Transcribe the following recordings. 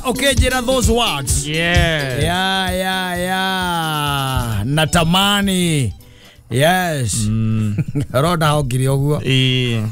Okay, Jera, those words. Yeah. Yeah, yeah, yeah. Natamani. Yes. Roda hokiri oguo. Ĩĩ.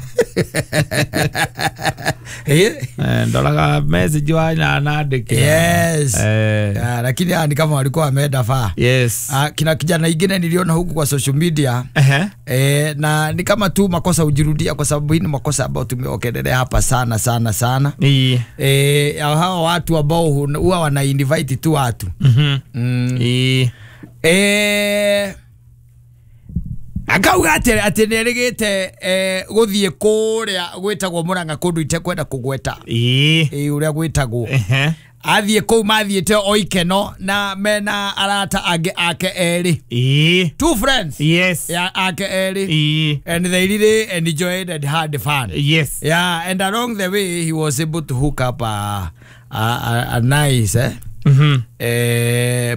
Eh? Eh, ndoraga message wa nandĩkĩra. Yes. Eh, Ah, lakini ni kama walikuwa wameenda faa. yes. Ah, kina kijana ingine niliona huku kwa social media. Ehe. Eh, na ni kama tu makosa hujirudia kwa sababu hii ni makosa ambayo tumeokelelea hapa sana sana sana. Ĩĩ. Eh, hawa watu ambao huwa wana invite tu watu. Mhm. Mm. Ĩĩ. Eh, akauga atĩ atĩ nĩerĩgĩte gũthiĩ kũrĩa gwĩtagwo Murang'a kũndũ itekwenda kũgweta. Ĩĩ. Ĩ ũrĩa gwĩtagwo. Ehe. Athiĩ kũu mathiĩte o ikeno na mena arata angĩ ake erĩ. Ĩĩ. Two friends. Yes. Ya ake erĩ. Ĩĩ. And they really enjoyed and had fun. Yes. Yeah, and along the way he was able to hook up a nice Mhm.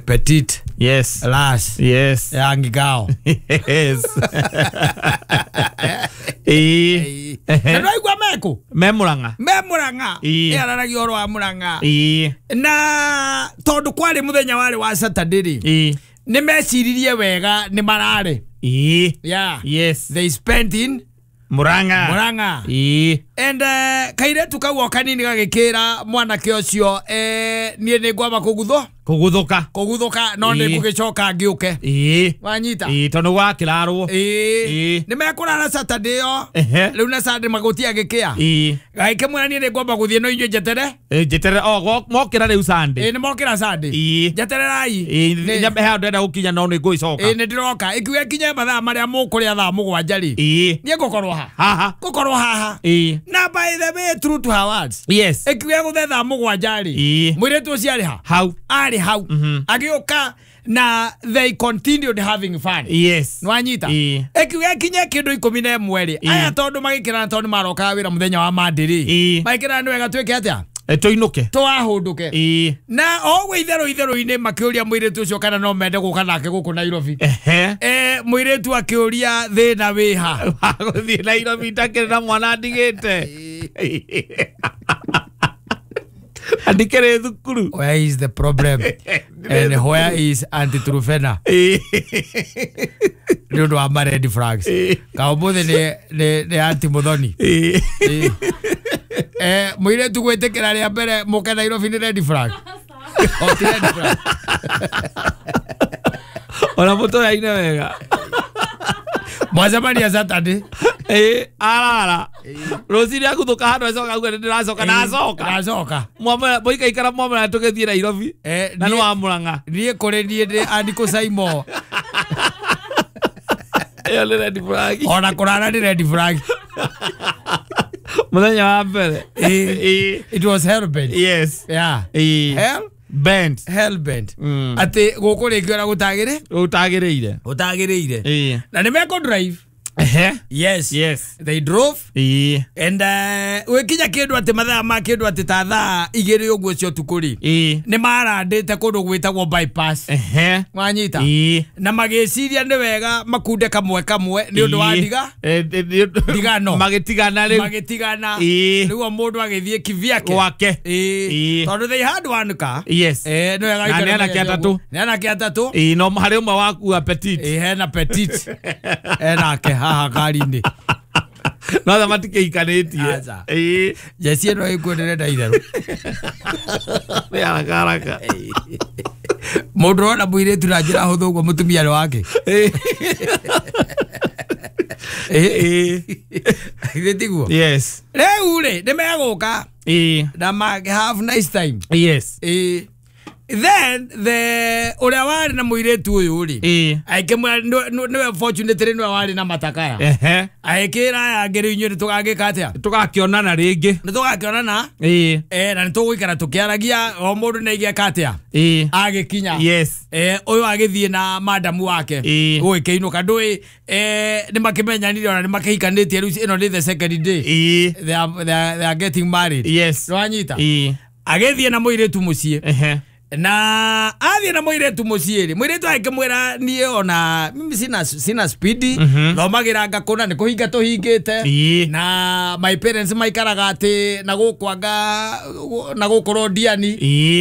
petite Yes. lass. Yes. Young girl. Yes. Ĩĩ. Na ndwaigua meku? Me Murang'a. Me Murang'a. Ĩĩ. Ĩararagia ũhoro wa Murang'a. Ĩĩ. Na tondũ kwarĩ mũthenya warĩ wa Saturday rĩ, Ĩĩ. nĩ meciririe wega nĩ mararĩ. Ĩĩ. Yeah. Yes. They spent in Murang'a. Murang'a. Ĩĩ. And kairetu kau o kanini gagĩkĩra mwanake ũcio niĩ nĩ ngwamba kũguthwo Kũguthũka. kũguthũka no nĩ Ĩĩ. ngũgĩcoka ngĩũke. Ĩĩ. Wanyita? Ĩĩ, tondũ gwakĩrarwo. Ĩĩ. Ĩĩ. Nĩ mekũrara Saturday ĩyo. Ehe. Rĩu na Sunday magũtia gĩkĩa. Ĩĩ. Gagĩkĩmwĩra niĩ nĩ ngwamba gũthiĩ no inyuĩ njetere. Ĩ, njeterere o mokĩra rĩu Sunday. Ĩĩ nĩ mokĩra Sunday. Ĩĩ. Njetererai. Ĩĩ, Nĩ- nyambe hau ndĩrenda gũkinya no nĩ ngũgĩcoka. Ĩĩ nĩ ndĩroka. Ĩkiuga ĩkinye mathaa marĩa mũkũrĩa thaa mũgwanja rĩ. Ĩĩ. Niĩ ngũkorwo ha? Haha. Ngũkorwo haha. Ĩĩ. Na by the way, true to her words. Yes. Ĩkiuga gũthe thaa mũgwanja rĩ. Ĩĩ. Mũirĩtu ũcio arĩ ha? Hau. Arĩ hau. Mhm. Agĩũka na they continued having fun. Yes. Nwanyita? Ĩĩ. Ĩkiuga ĩkinye kĩndũ 11 rĩ. Ĩĩ. Aya tondũ magĩkĩrana tondũ nĩmarokaga wĩra mũthenya wa Monday rĩ. Ĩĩ. Magĩkĩrana nĩ wega twĩke atĩa? Ĩ, tũinũke. Twahũndũke. Ĩĩ. Na o ũguo itherũ itherũ-inĩ makĩũria mũirĩtu ũcio kana no mende gũka nake gũkũ Nairobi. Ehe. Mũirĩtu akĩũria thĩna wĩ ha? Wa gũthiĩ Nairobi itakĩrĩ na mwana ndigĩte. Andikĩrĩ thukuru. Where is the problem? And where is Auntie Trufena? Ĩĩ. Nĩ ũndũ wa ma red flags. Ĩĩ. Ka ũmũthĩ nĩ Auntie Muthoni. Ĩĩ. Ĩĩ. Mũirĩtu gwĩtĩkĩra rĩa mbere mũke Nairobi nĩ red flag. O ti red flag. Ona mũtũraine wega. Mwacemania Saturday. Ĩĩ, arara. Rũcinĩ aguthũka handũ acoka auga nĩ ndĩracoka na acoka. Nacoka. Mũikaikara mwamwĩra tũgĩthiĩ Nairobi. Na nĩ wa Murang'a. Niĩ kũrĩ niĩ ndĩ Andy Kũcaimo. Ĩyo nĩ red flag. Ona kũrara nĩ red flag. Mũthenya wa mbere. Ĩĩ. Ĩĩ. It was hell bent. Yes. Yeah. Ĩĩ. Hell Bent. hell bent. Mm. Atĩ gũkũ rĩngĩ ona gũtagĩrĩ Ũtagĩrĩire. gũtagĩrĩire. Ĩĩ. Na nĩ mekũ drive. Ehe. Yes. Yes. They drove Ĩĩ. and gwĩkinya kĩndũ atĩ mathaa ma kĩndũ atĩ ta thaa igĩrĩ ũguo cia ũtukũ rĩ. Ĩĩ. Nĩ marandĩte kũndũ gwĩtagwo bypass. Ehe. Wanyita? Ĩĩ. Na magĩciria nĩ wega makunde kamwe kamwe nĩ ũndũ wa Ĩĩ. ndiga Ndigano. Ndigano. Magĩtigana rĩu. Magĩtigana. Ĩĩ. Rĩu o mũndũ agĩthiĩ kivyake. Gwake. Ĩĩ. Ĩĩ. Tondũ they had one car. Yes. Nĩ wega Na nĩ gũikara anake menyete atatũ. ũguo. Nĩ anake atatũ. Ĩĩ, no harĩ ũmwe wakua petit. Ĩĩ, hena petit. Enake haha ngari-inĩ. No tha matikĩhikanĩtie. Aca. Ĩĩ. Jeci ĩno ĩkuo ndĩrenda itherũ. Nĩ haraka haraka. Mũndũ ũrona mũirĩtu na njĩra hũthũ ũguo mũtumia nĩ wake. Ĩĩ. Ĩĩ. Githĩ tiguo? Yes. Rĩu rĩ nĩ megũka Ĩĩ. na have nice time. Yes. Ĩĩ. Then the ũrĩa warĩ na mũirĩtu ũyũ rĩ Ĩĩ. agĩkĩmwĩra nĩwe fortunately nĩwe warĩ na matakaya. Ehe. Agĩkĩra aya angĩ rĩu inyuĩ nĩ tũgagĩka atĩa? Tũgakĩonana rĩngĩ. Nĩ tũgakĩonana. Ĩĩ. Na nĩ tũgũikara tũkĩaragia o mũndũ nĩ aigĩka atĩa? Ĩĩ. Agĩkinya. Yes. Ũyũ agĩthiĩ na madamu wake. Ĩĩ. Gũgĩkĩinũka ndũĩ nĩ makĩmenyanire ona nĩ makĩhikanĩtie rĩu ĩno nĩ the second day. Ĩĩ. They are getting married. Yes. Nĩwanyita? Ĩĩ. Agĩthiĩ na mũirĩtu mũciĩ. Ehe. Na athiĩ na mũirĩtu mũciĩ rĩ, mũirĩtu agĩkĩmwĩra niĩ ona mimi sina spidi, thomagĩra ngakũna nĩ kũhinga tũhingĩte. Na my parents maikaraga atĩ na gũkũ anga na gũkũ Londiani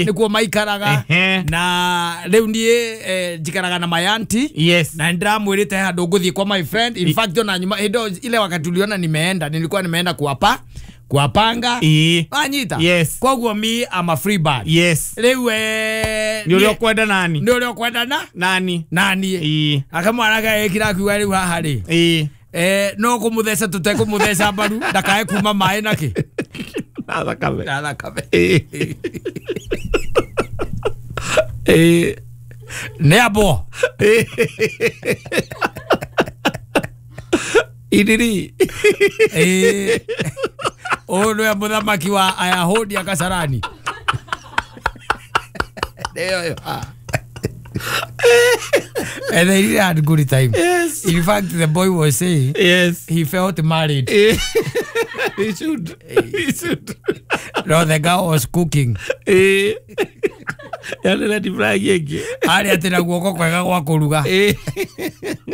nĩkuo maikaraga. Na rĩu niĩ njikaraga na my auntie. Yes. Na ndĩramwĩrĩte handũ ngũthiĩ kwa my friend. In fact ona nyuma hĩndĩ ile wakati uliona nimeenda, nilikuwa nimeenda kuwapa kuwapanga. Wanyita. Yes. Koguo mi am a free bird. Yes. Rĩu nĩ ũrĩa ũkwenda nani? Nĩ ũrĩa ũkwenda na? Nani? Nani. Akamwaraga ĩkira akiuga rĩu haha rĩ. No kũmũtheca tũtekũmũtheca mbaru ndakae kuma maĩ na kĩ? Na thakame. Na thakame. Nĩ abo. Iriri. Ũyũ nĩwe mũthamaki wa Ayahudi a Kasarani. And they really had good time. Yes. In fact, the boy was saying, yes, he felt married. He should. He should. No, the girl was cooking. Yani red flag yake. Ari atĩ na guoko kwega gwa kũruga. Nĩ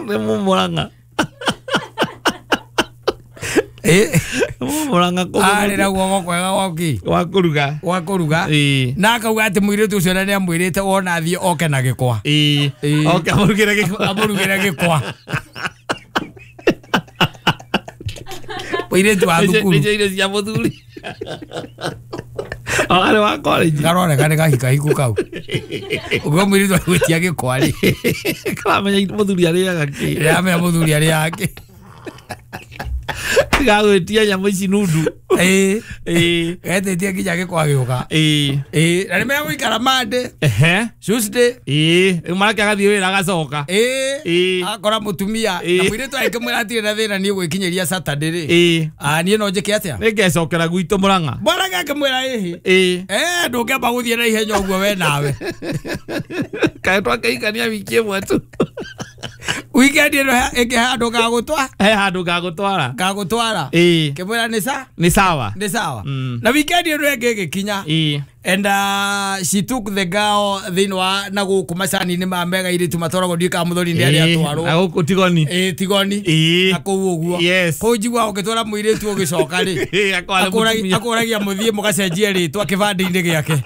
mũmũranga. Mũmũranga arĩ na guoko kwega gwa kĩ? Gwa kũruga. Gwa kũruga. Na akauga atĩ mũirĩtu ũcio nĩ amwĩrĩte wona athiĩ oke na gĩkwa. Oke amũrugĩre gĩkwa. Amũrugĩre gĩkwa. Mũirĩtu wa thukuru. Nĩcio irio cia mũthuri. Arĩ wa college. Karoneka nĩ kahikahiku kau. Ũguo mũirĩtu agwĩtia gĩkwa rĩ. Karamenya mũthuri arĩaga kĩ. Karamenya mũthuri arĩaga kĩ. Gagwĩtia nyamũ ici nundu. Getĩtie nginya gĩkwa gĩũka. Na nĩmegũikara Monday. Tuesday. Rĩu marake agathiĩ wĩra agacoka. Akora mũtumia. Na mũirĩtu agĩkĩmwĩra atirĩ na thĩna niĩ gwĩkinyĩria Saturday rĩ. Niĩ no njĩke atĩa? Nĩngecokera gwitũ Mũrang'a. Mũrang'a akĩmwĩra ĩhĩ. Ndũngĩamba gũthiĩ na ihenya ũguo we nawe. Kaĩ twakĩhikania wiki ĩmwe tu. Weekend ĩno ĩngĩ handũ ngagũtwara. He handũ ngagũtwara. Ngagũtwara. Kĩmwĩra nĩ sa? Nĩ sawa. Nĩ sawa. Na weekend ĩno ĩngĩ ĩgĩkinya. And she took the girl thĩinĩ wa na gũkũ macani-inĩ ma mega irĩtu matwaragwo ndiũĩ kana mũthoni nĩ arĩa atwarwo. Na gũkũ Tigoni. Tigoni. Na kũu ũguo. Yes. Kũu njiguaga ũngĩtwara mũirĩtu ũgĩcoka rĩ. Akũragia mũthiĩ mũgacenjie rĩtwa kĩbandĩ-inĩ gĩake.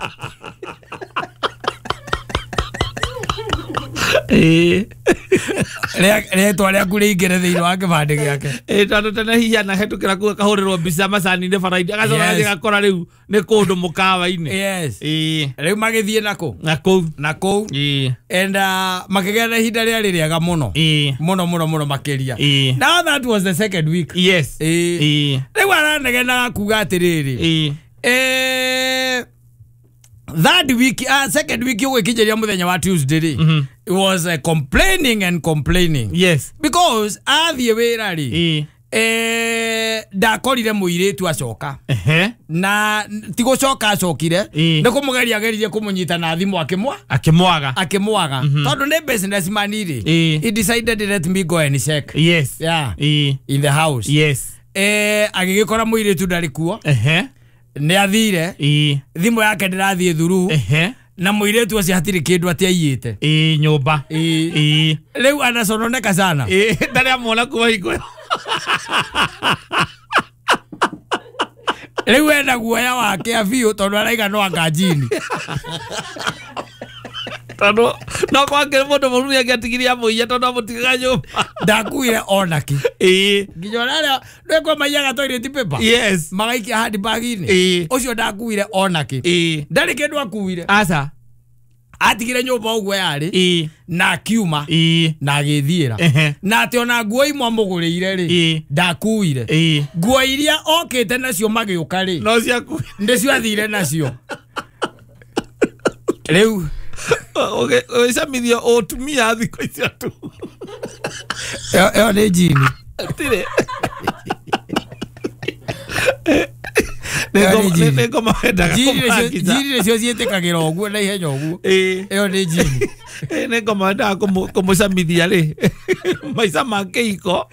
Rĩtwa rĩaku rĩingĩre thĩinĩ wa kĩbandĩ gĩake. Tondũ tene hihi anahetũkĩra kũu akahũrĩrwo mbica macani-inĩ bara-inĩ agacoka agathiĩ agakora rĩu nĩ kũndũ mũkawa-inĩ. Yes. Rĩu magĩthiĩ nakũ? Na kũu. Na kũu. And makĩgĩa na ihinda rĩarĩ rĩega mũno. Mũno mũno mũno makĩria. Now that was the second week. Yes. Rĩu aranegenaga kuga atĩrĩrĩ. That week, second week ũgĩkinyĩria mũthenya wa Tuesday rĩ, it was complaining and complaining. Yes. Because athiĩ wĩra rĩ, ndakorire mũirĩtu acoka. Na ti gũcoka acokire, nĩ kũmũgeria ageririe kũmũnyita na thimũ akĩmwa. Akĩmwaga. Akĩmwaga. Tondũ nĩ businessman rĩ, he decided let me go and check. Yes. Yeah. In the house. Yes. Agĩgĩkora mũirĩtu ndarĩ kuo. Nĩ athire. Thimũ yake ndĩrathiĩ thuru. Na mũirĩtu ũcio hatirĩ kĩndũ atĩ aiyĩte. Nyũmba. Rĩu anacononeka sana. Ndarĩ amuona kuma hingo ĩyo. Rĩu ena guoya wake biũ tondũ araiga no anga njini. Tondũ no kwakĩrĩ mũndũ mũru nĩangĩatigirie amũiye tondũ amũtigaga nyũmba. Ndakuire ona kĩ. Nginya ona arĩa nĩkwo maiyaga toilet paper. Yes. Magaikia handbag-inĩ. Ũcio ndakuire ona kĩ. Ndarĩ kĩndũ akuire. Aca. Atigire nyũmba ũguo yarĩ. Na akiuma. Na agĩthiĩra. Na atĩ ona nguo imwe amũgũrĩire rĩ, ndakuire. Nguo iria okĩte nacio magĩũka rĩ, no ciakuire. Nĩcio athire nacio. Rĩu ũgĩcamithia ũtumia thikũ icio tu. Ĩyo nĩ njini. Tirĩ. Nĩ ngoma wendaga kũmũhangitha. Njini nĩcio ciĩtĩkagĩra ũguo na ihenya ũguo. Ĩyo nĩ njini. Nĩ ngoma wendaga kũmũcamithia rĩ maica ma kĩhiko.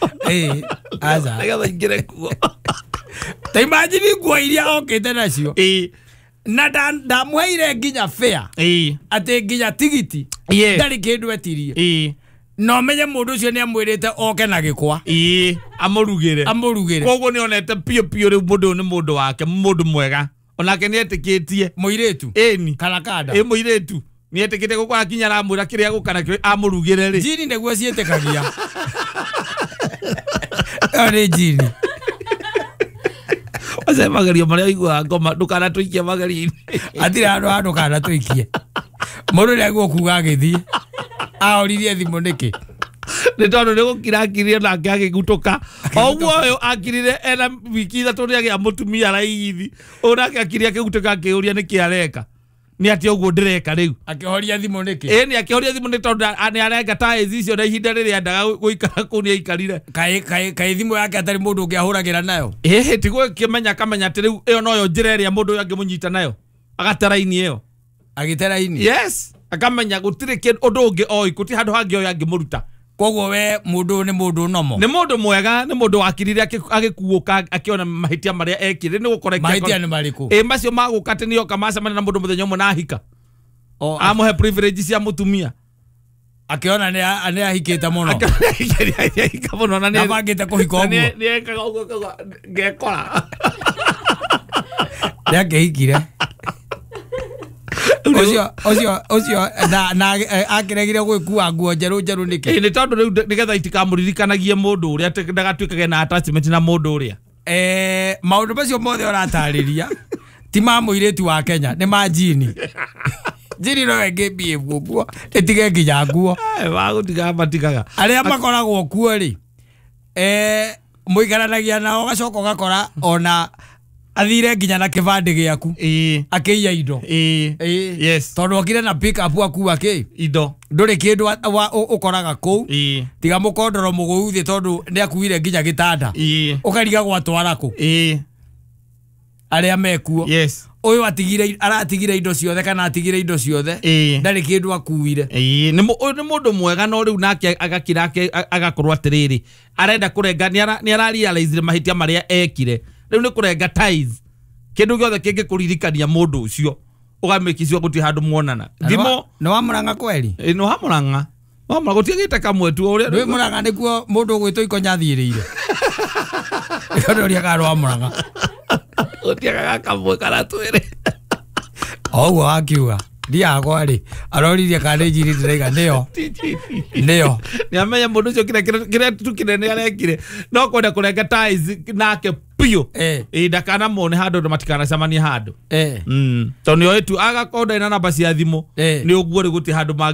Aca. Nĩgetha aingĩre kuo. Ta imagine nguo iria okĩte nacio. Na ndamũheire nginya fare. Atĩ nginya tigiti. Ndarĩ kĩndũ etirie. No menye mũndũ ũcio nĩ amwĩrĩte oke na gĩkwa. Amũrugĩre. Amũrugĩre. Koguo nĩ onete piũ piũ rĩu mũndũ ũyũ nĩ mũndũ wake, mũndũ mwega. Onake nĩ etĩkĩtie. Mũirĩtu. Ĩni. Kana kanda. Ĩ mũirĩtu. Nĩ etĩkĩtie gũkũ akinya aramwĩra kĩrĩa gũka nakĩo amũrugĩre rĩ. Njini nĩguo ciĩtĩkagia. Ĩyo nĩ njini. Ace magerio marĩa ũiguaga ngoma ndũkanatũikie magerio-inĩ. Hatirĩ handũ ha ndũkanatũikie. Mũndũ nĩagwo kuga agĩthiĩ. Ahoririe thimũ nĩkĩ? Nĩ tondũ nĩ gũkira akirire nake agĩgutũka. O ũguo ũyũ akirire ena wiki ithatũ nĩ agĩa mũtumia raithi. Ũyũ nake akirire akĩgutũka akĩũria nĩkĩ areka. Nĩ atĩa ũguo ndĩreka rĩu. Akĩhoria thimũ nĩkĩ? Ĩĩ nĩ akĩhoria thimũ nĩ tondũ nĩ arenga tiles icio na ihinda rĩrĩa endaga gũikara kũu nĩ aikarire. Kaĩ thimũ yake atarĩ mũndũ ũngĩ ahũragĩra nayo? Ĩhĩ ti gũkĩmenya akamenya atĩ rĩu ĩyo noyo njĩra ĩrĩa mũndũ ũyũ angĩmũnyita nayo. Agate raini ĩyo. Agĩte raini? Yes. Akamenya gũtirĩ ũndũ ũngĩ oĩ, gũtirĩ handũ hangĩ oĩ angĩmũruta. Koguo we mũndũ nĩ mũndũ nomo. Nĩ mũndũ mwega, nĩ mũndũ wakirire agĩkuũka akĩona mahĩtia marĩa ekire. Nĩ gũkora mahĩtia nĩ marĩkũ? Ĩ macio magũka atĩ nĩoka macemania na mũndũ mũthenya ũmwe na ahika. Amũhe privilege cia mũtumia. Akĩona nĩ ahikĩte mũno. Akĩona mũno na nĩ abangĩte kũhika ũguo. Nĩ ekaga ũguo akauga ngekora. Nĩ akĩhikire. Ũcio na akĩregire gwĩkua nguo njerũ njerũ nĩkĩ? Nĩ tondũ rĩu nĩgetha itikamũririkanagie mũndũ ũrĩa atĩ ndagatuĩkage na attachment na mũndũ ũrĩa. Maũndũ macio mothe ũratarĩria ti ma mũirĩtu wa Kenya, nĩ ma njini. Njini no ĩngĩmbie ũguo ĩtige nginya nguo. Magũtigaga matigaga. Arĩa makoragwo kuo rĩ, mũikaranagia nao ũgacoka ũgakora ona athire nginya na kĩbandĩ gĩaku. Akĩiya indo. Yes. Tondũ okire na pick up akua kĩ? Indo. Ndũrĩ kĩndũ ũkoraga kũu. Tiga mũkondoro mũgũu thĩ tondũ nĩ akuire nginya gĩtanda. Ũkariga gwatwara kũ? Arĩa mekuo. Yes. Ũyũ aratigire indo ciothe kana atigire indo ciothe. Ndarĩ kĩndũ akuire. Nĩ mũndũ mwega no rĩu nake agakira agakorwo atĩrĩrĩ. Arenda kũrenga nĩ ararealize mahĩtia marĩa ekire. Rĩu nĩ kũrenga ties. Kĩndũ gĩothe kĩngĩkũririkania mũndũ ũcio ũgamĩkicio gũtirĩ handũ muonana. Thimũ nĩ wa Mũrang'a kweri? Nĩ wa Mũrang'a. Wa Mũrang'a gũtiagĩte kamwe tu ũrĩa. Ndũĩ Mũrang'a nĩkuo mũndũ ũgwĩtwo Ikonya athiĩrĩire. Nĩkĩo kana wa Mũrang'a. Gũtiagaga kamwe kana twĩrĩ. O ũguo wakiuga. Ndiagwa rĩ aroririe kana nĩ njiri ndĩraiga nĩyo. Nĩyo. Nĩ amenya mũndũ ũcio kĩrĩa tu kĩnene arekire no kwenda kũrenga ties nake piũ. Ndakanamone handũ na matikanacemanie handũ. Tondũ nĩ oĩ tu agakorwo ndarĩ na namba cia thimũ nĩ ũguo rĩ gũtirĩ handũ